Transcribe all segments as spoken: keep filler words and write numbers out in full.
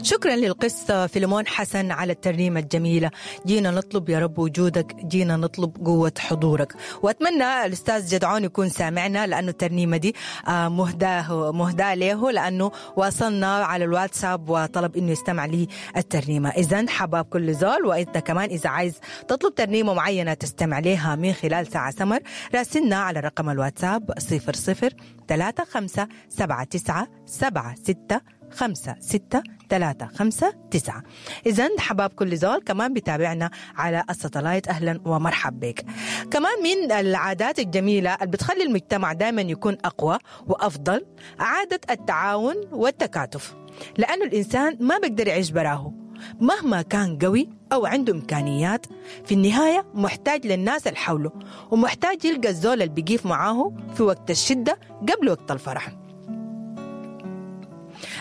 شكرا للقس فيلمون حسن على الترنيمة الجميلة. جينا نطلب يا رب وجودك، جينا نطلب قوة حضورك. وأتمنى الأستاذ جدعون يكون سامعنا، لأنه الترنيمة دي مهداه مهداه له، لأنه وصلنا على الواتساب وطلب إنه يستمع لي الترنيمة. إذن حباب كل زول، وإنت كمان إذا عايز تطلب ترنيمة معينة تستمع لها من خلال ساعة سمر، راسلنا على رقم الواتساب صفر صفر ثلاثة خمسة سبعة تسعة سبعة ستة خمسة ستة ثلاثة خمسة تسعة. إذن حباب كل زول كمان بتابعنا على الستلايت، أهلا ومرحب بك. كمان من العادات الجميلة اللي بتخلي المجتمع دائما يكون أقوى وأفضل عادة التعاون والتكاتف، لأنه الإنسان ما بيقدر يعيش براه مهما كان قوي أو عنده إمكانيات، في النهاية محتاج للناس اللي حوله، ومحتاج يلقى الزول اللي بيقيف معاه في وقت الشدة قبل وقت الفرح.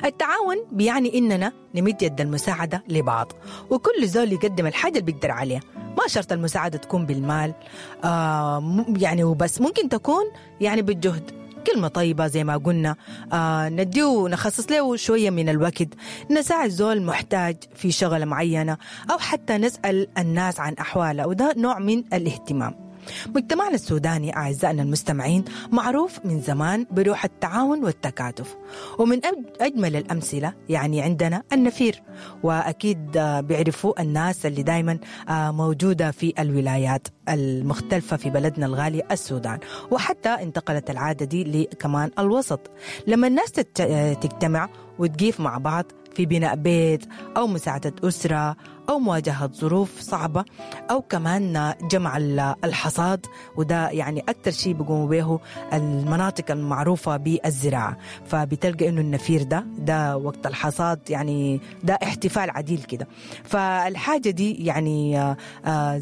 التعاون بيعني إننا نمد يد المساعدة لبعض، وكل زول يقدم الحاجة اللي بيقدر عليها. ما شرط المساعدة تكون بالمال آه يعني وبس، ممكن تكون يعني بالجهد، كلمة طيبة زي ما قلنا، آه نديه نخصص له شوية من الوقت، نساعد زول محتاج في شغلة معينة، أو حتى نسأل الناس عن أحواله، وده نوع من الاهتمام. مجتمعنا السوداني أعزائنا المستمعين معروف من زمان بروح التعاون والتكاتف، ومن أجمل الأمثلة يعني عندنا النفير، وأكيد بيعرفوا الناس اللي دايما موجودة في الولايات المختلفة في بلدنا الغالي السودان، وحتى انتقلت العادة دي لكمان الوسط. لما الناس تجتمع وتقيف مع بعض في بناء بيت أو مساعدة أسرة أو مواجهة ظروف صعبة، أو كمان جمع الحصاد، وده يعني أكتر شيء بيقوموا به المناطق المعروفة بالزراعة، فبتلقى إنه النفير ده ده وقت الحصاد يعني ده احتفال عديل كده. فالحاجة دي يعني آه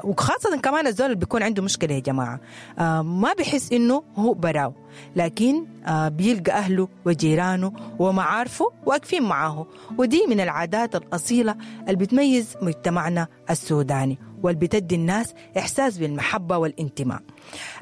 وخاصة كمان الزول اللي بيكون عنده مشكلة يا جماعة آه ما بيحس إنه هو براو، لكن آه بيلقى أهله وجيرانه ومعارفه واقفين معاه، ودي من العادات الأصيلة اللي بتميز مجتمعنا السوداني، واللي بتدي الناس إحساس بالمحبة والانتماء.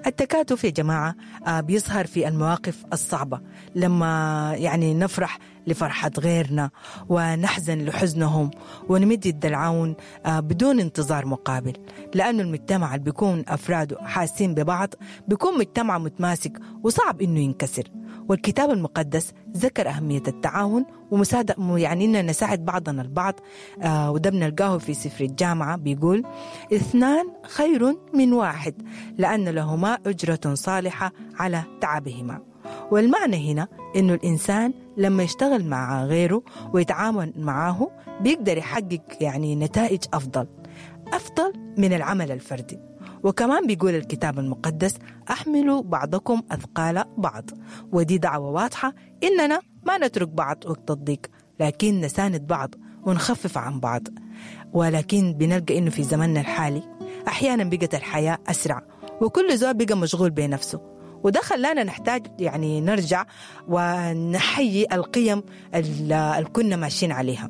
التكاتف يا جماعة بيظهر في المواقف الصعبة، لما يعني نفرح لفرحة غيرنا ونحزن لحزنهم ونمد يد العون بدون انتظار مقابل، لأنه المجتمع اللي بيكون أفراده حاسين ببعض بيكون مجتمع متماسك وصعب إنه ينكسر. والكتاب المقدس ذكر أهمية التعاون ومساعدة، يعني إننا نساعد بعضنا البعض، آه وده بنلقاه في سفر الجامعة بيقول اثنان خير من واحد لأن لهما أجرة صالحة على تعبهما. والمعنى هنا إنه الإنسان لما يشتغل مع غيره ويتعاون معاه بيقدر يحقق يعني نتائج أفضل أفضل من العمل الفردي. وكمان بيقول الكتاب المقدس أحملوا بعضكم أثقال بعض، ودي دعوة واضحة إننا ما نترك بعض وقت الضيق، لكن نساند بعض ونخفف عن بعض. ولكن بنلقى إنه في زمننا الحالي أحيانا بقت الحياة أسرع وكل زول بقى مشغول بنفسه، وده خلانا نحتاج يعني نرجع ونحيي القيم اللي كنا ماشيين عليها،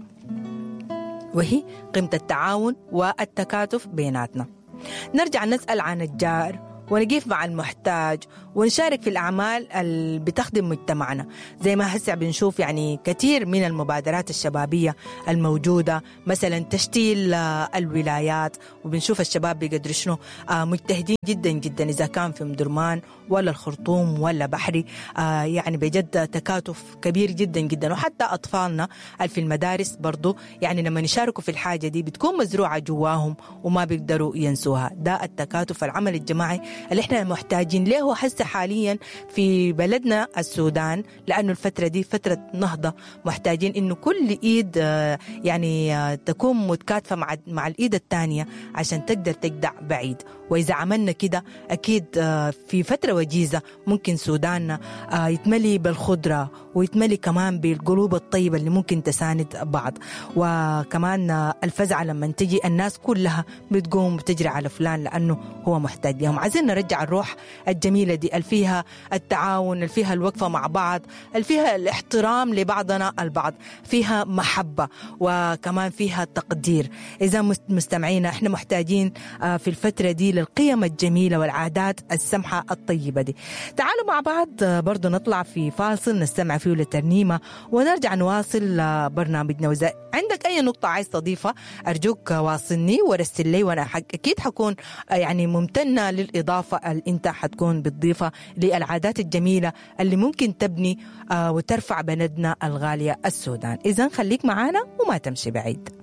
وهي قيمة التعاون والتكاتف بيناتنا. نرجع نسأل عن الجار ونقف مع المحتاج ونشارك في الأعمال اللي بتخدم مجتمعنا، زي ما هسه بنشوف يعني كثير من المبادرات الشبابية الموجودة، مثلا تشتيل الولايات، وبنشوف الشباب بيقدروا شنو مجتهدين جدا جدا، إذا كان في مدرمان ولا الخرطوم ولا بحري، يعني بجد تكاتف كبير جدا جدا. وحتى أطفالنا في المدارس برضو يعني لما يشاركوا في الحاجة دي بتكون مزروعة جواهم وما بيقدروا ينسوها. ده التكاتف العمل الجماعي اللي احنا محتاجين له هسه حاليا في بلدنا السودان، لأنه الفترة دي فترة نهضة، محتاجين إنه كل إيد يعني تكون متكاتفة مع مع الإيد الثانية عشان تقدر تجدع بعيد. وإذا عملنا كده أكيد في فترة وجيزة ممكن سوداننا يتملي بالخضرة ويتملي كمان بالقلوب الطيبة اللي ممكن تساند بعض. وكمان الفزعة لما تجي الناس كلها بتقوم بتجري على فلان لأنه هو محتاج لهم. عايزين نرجع الروح الجميلة دي اللي فيها التعاون، اللي فيها الوقفة مع بعض، اللي فيها الاحترام لبعضنا البعض، فيها محبة وكمان فيها تقدير. إذا مستمعينا احنا محتاجين في الفترة دي للقيم الجميلة والعادات السمحة الطيبة دي. تعالوا مع بعض برضو نطلع في فاصل نستمع فيه لترنيمة ونرجع نواصل برنامجنا. وإذا عندك أي نقطة عايز تضيفها أرجوك واصلني ورسل لي، وأنا أكيد حكون يعني ممتنة للإضافة اللي أنت حتكون بتضيفها للعادات الجميلة اللي ممكن تبني وترفع بلدنا الغالية السودان. إذن خليك معانا وما تمشي بعيد.